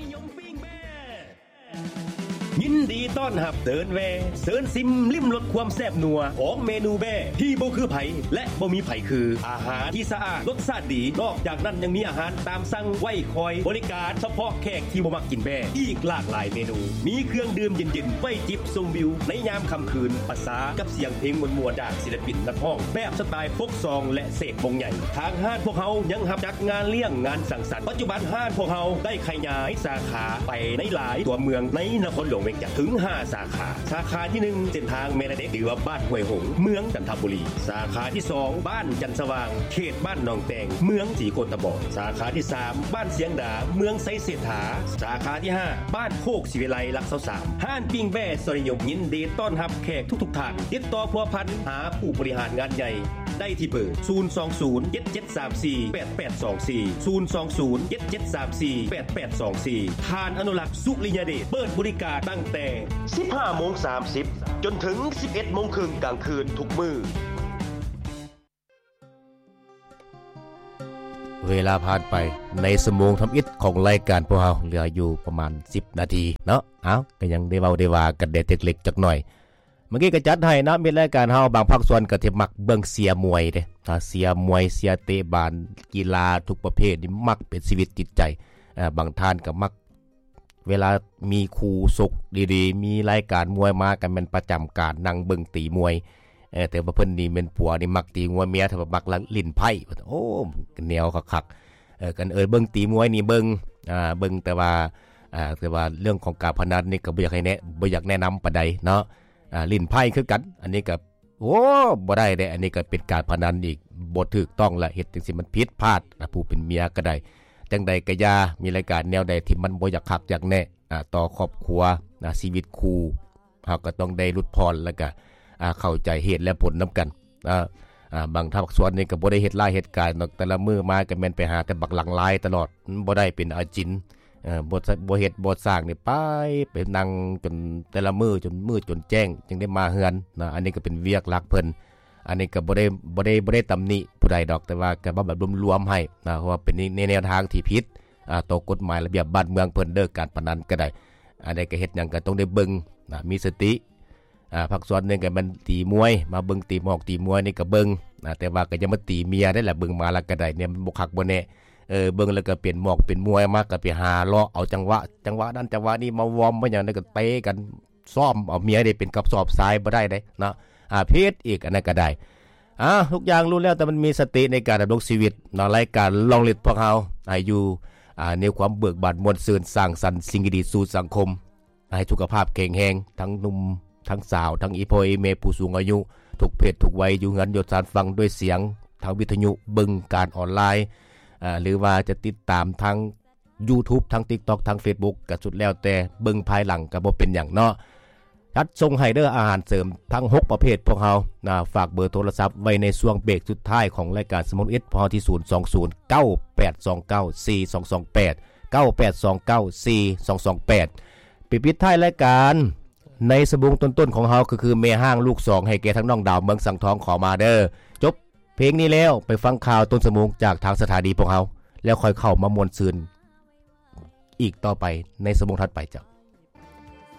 ນິຍົມປີ້ງແບ້ ຍິນດີຕ້ອນຮັບເດີນແວ່ ເຊີນຊິມລິມລົດຄວາມແຊບນົວຂອງເມນູແບ້ທີ່ບໍ່ຄືໃຜ ແລະ ບໍ່ມີໃຜຄື. ອາຫານທີ່ສະອາດ ລົດຊາດດີ ນອກຈາກນັ້ນຍັງມີອາຫານຕາມສັ່ງໄວ້ຄອຍບໍລິການສະເພາະແຂກທີ່ບໍ່ມັກກິນແບ້ ອີກຫຼາກຫຼາຍເມນູ. ມີເຄື່ອງດື່ມເຢັນໆ ໄວ້ຈິບຊົມວິວໃນຍາມຄ່ຳຄືນ ປະສານກັບສຽງເພງມ່ວນໆຈາກສິລະປິນນັກຮ້ອງແບບສະຕາຍໂຟກຊອງ ແລະ ເສກວົງໃຫຍ່. ທາງຮ້ານພວກເຮົາຍັງຮັບຈັດງານລ້ຽງງານສັງສັນ. ປັດຈຸບັນຮ້ານພວກເຮົາໄດ້ຂະຫຍາຍສາຂາໄປໃນຫຼາຍຕົວເມືອງໃນນະຄອນຫຼວງວຽງຈັນເຖິງຫ້າສາຂາ. ສາຂາທີໜຶ່ງ ເສັ້ນທາງແມ່ນາເດັກ ຫຼືວ່າບ້ານຫ້ວຍຫົງ ເມືອງຈັນທະບູລີ. ສາຂາທີສອງ ບ້ານຈັນສະຫວ່າງ ເຂດບ້ານໜອງແຕງ ເມືອງສີໂຄດຕະບອງ. ສາຂາທີສາມ ບ້ານຊຽງດາ ເມືອງໄຊເສດຖາ. ສາຂາທີຫ້າ ບ້ານໂຄກສີວິໄລ ຫຼັກຊາວສາມ. ຮ້ານປີ້ງແບ້ຊອຍນິຍົມ ຍິນດີຕ້ອນຮັບແຂກທຸກໆທ່ານ. ຕິດຕໍ່ພົວພັນຫາຜູ້ບໍລິຫານງານໃຫຍ່ໄດ້ທີ່ເບີ ສູນສອງສູນ ເຈັດເຈັດສາມສີ່ ແປດແປດສອງສີ່ ສູນສອງສູນ ເຈັດເຈັດສາມສີ່ ແປດແປດສອງສີ່. ທ່ານອະນຸລັກ ສຸລິຍະເດດ ເປີດບໍລິການຕັ້ງແຕ່ສິບຫ້າໂມງສາມສິບ ຈົນເຖິງສິບເອັດໂມງເຄິ່ງກາງຄືນທຸກມື້. ເວລາຜ່ານໄປໃນຊົ່ວໂມງທຳອິດຂອງລາຍການພວກເຮົາ ເຫຼືອຢູ່ປະມານສິບນາທີເນາະ. ເອົ້າ ກໍຍັງໄດ້ເວົ້າໄດ້ວ່າກັນແດ່ຈັກເລັກຈັກໜ້ອຍ. ເມື່ອກີ້ກໍຈັດໃຫ້ເນາະ ມິດລາຍການເຮົາບາງພາກສ່ວນກໍທີ່ມັກເບິ່ງເຊຍມວຍເດ້ ເຊຍມວຍ ເຊຍເຕະບານ ກິລາທຸກປະເພດນີ້ມັກເປັນຊີວິດຈິດໃຈ. ບາງທ່ານກໍມັກ ເວລາມີຄູ່ຊົກດີໆ ມີລາຍການມວຍມາ ກໍແມ່ນປະຈຳການນັ່ງເບິ່ງຕີມວຍ. ເອີ ແຕ່ວ່າເພິ່ນນີ້ແມ່ນຜົວນີ້ມັກຕີງວດ ເມຍເພິ່ນມັກຫຼິ້ນໄພ້. ໂອ້ ແນວຄັກໆ. ເອີ ກັນ ເອີ ເບິ່ງຕີມວຍນີ້ເບິ່ງ ອ່າ ເບິ່ງ ແຕ່ວ່າ ອ່າ ແຕ່ວ່າເລື່ອງຂອງການພະນັນນີ້ກໍບໍ່ຢາກໃຫ້ແນະ ບໍ່ຢາກແນະນຳປານໃດເນາະ. ອ່າ ຫຼິ້ນໄພ້ຄືກັນ ອັນນີ້ກໍ ໂອ້ ບໍ່ໄດ້ເດ້ ອັນນີ້ກໍເປັນການພະນັນອີກ ບໍ່ຖືກຕ້ອງລະ ເຮັດຈັ່ງຊີ້ມັນຜິດພາດນະ ຜູ້ເປັນເມຍກໍໄດ້. ຈັ່ງໃດກໍຢ່າ ມີລາຍການແນວໃດທີ່ມັນບໍ່ຢາກຄັກຢາກແນະ ອ່າ ຕໍ່ຄອບຄົວນະ ຊີວິດຄູ່ ເຮົາກໍຕ້ອງໄດ້ຫຼຸດຜ່ອນ ແລ້ວກໍ ອ່າ ເຂົ້າໃຈເຫດແລະຜົນນຳກັນ. ອ່າ ອ່າ ບາງພາກສ່ວນນີ້ກໍບໍ່ໄດ້ເຮັດລາຍເຮັດການດອກ ແຕ່ລະມື້ມາກໍແມ່ນໄປຫາແຕ່ບັກຫຼັງລາຍຕະຫຼອດ ມັນບໍ່ໄດ້ເປັນອາຈິນ. ເອີ ບໍ່ ບໍ່ເຮັດບໍ່ສ້າງນີ້ ໄປ ໄປນັ່ງຈົນແຕ່ລະມື້ ຈົນມືດຈົນແຈ້ງ ຈຶ່ງໄດ້ມາເຮືອນນະ. ອັນນີ້ກໍເປັນວຽກຫຼັກເພິ່ນ ອັນນີ້ກໍບໍ່ໄດ້ ບໍ່ໄດ້ ບໍ່ໄດ້ຕຳໜິຜູ້ໃດດອກ ແຕ່ວ່າກໍເວົ້າແບບລວມໆໃຫ້ນະ ເພາະວ່າເປັນໃນແນວທາງທີ່ຜິດ ອ່າ ຕໍ່ກົດໝາຍລະບຽບບ້ານເມືອງເພິ່ນເດີ ການພະນັນກໍໄດ້. ອັນໃດກໍເຮັດຫຍັງກໍຕ້ອງໄດ້ເບິ່ງນະ ມີສະຕິ. ອ່າ ພາກສ່ວນໜຶ່ງກໍແມ່ນຕີມວຍ ມາເບິ່ງຕີໝອກຕີມວຍນີ້ກໍເບິ່ງນະ ແຕ່ວ່າກໍຢ່າມາຕີເມຍໄດ້ລະ ເບິ່ງມາແລ້ວກໍໄດ້ ແນວມັນບໍ່ຄັກບໍ່ແນ່. ເອີ ເບິ່ງແລ້ວກໍເປັນໝອກເປັນມວຍມາ ກໍໄປຫາເລາະເອົາຈັງຫວະ ຈັງຫວະນັ້ນຈັງຫວະນີ້ມາວອມມາຫຍັງ ແລ້ວກໍເຕະກັນ ຊ້ອມເອົາເມຍໄດ້ເປັນກະສອບຊາຍບໍ່ໄດ້ເດ້ເນາະ. ອ່າ ຜິດອີກ ອັນນັ້ນກໍໄດ້. ອ່າ ທຸກຢ່າງຮູ້ແລ້ວ ແຕ່ມັນມີສະຕິໃນການດຳລົງຊີວິດເນາະ. ລາຍການລອງລິດພວກເຮົາໃຫ້ຢູ່ ອ່າ ໃນຄວາມເບີກບານມ່ວນຊື່ນ ສ້າງສັນສິ່ງດີໆສູ່ສັງຄົມ ໃຫ້ສຸຂະພາບແຂງແຮງ ທັງໜຸ່ມ ທັງສາວ ທັງອີ່ພໍ່ອີ່ແມ່ ຜູ້ສູງອາຍຸ ທຸກເພດທຸກໄວ ຢູ່ເຮືອນຢູ່ຊານຟັງດ້ວຍສຽງທາງວິທະຍຸ ເບິ່ງການອອນລາຍ ອ່າ ຫຼືວ່າຈະຕິດຕາມທາງ YouTube ທາງ TikTok ທາງ Facebook ກໍສຸດແລ້ວແຕ່ ເບິ່ງພາຍຫຼັງກໍບໍ່ເປັນຫຍັງເນາະ. ຈັດສົ່ງໃຫ້ເດີ ອາຫານເສີມທັງຫົກປະເພດພວກເຮົານະ. ຝາກເບີໂທລະສັບໄວ້ໃນຊ່ວງເບຣກສຸດທ້າຍຂອງລາຍການສະໝອງເອັດ ພວກເຮົາທີ່ ສູນສອງສູນ ເກົ້າແປດສອງເກົ້າ ສີ່ສອງສອງແປດ ເກົ້າແປດສອງເກົ້າ ສີ່ສອງສອງແປດ. ໄປປິດທ້າຍລາຍການໃນຊົ່ວໂມງຕົ້ນໆຂອງເຮົາ ກໍຄືແມ່ຮ້າງລູກສອງ ໃຫ້ແກ່ທັງນ້ອງດາວເມືອງສັງທອງ ຂໍມາເດີ. ຈົບ ເພງນີ້ແລ້ວ ໄປຟັງຂ່າວຕົ້ນຊົ່ວໂມງຈາກທາງສະຖານີພວກເຮົາ ແລ້ວຄ່ອຍເຂົ້າມາມ່ວນຊື່ນອີກຕໍ່ໄປໃນຊົ່ວໂມງຖັດໄປເຈົ້າ.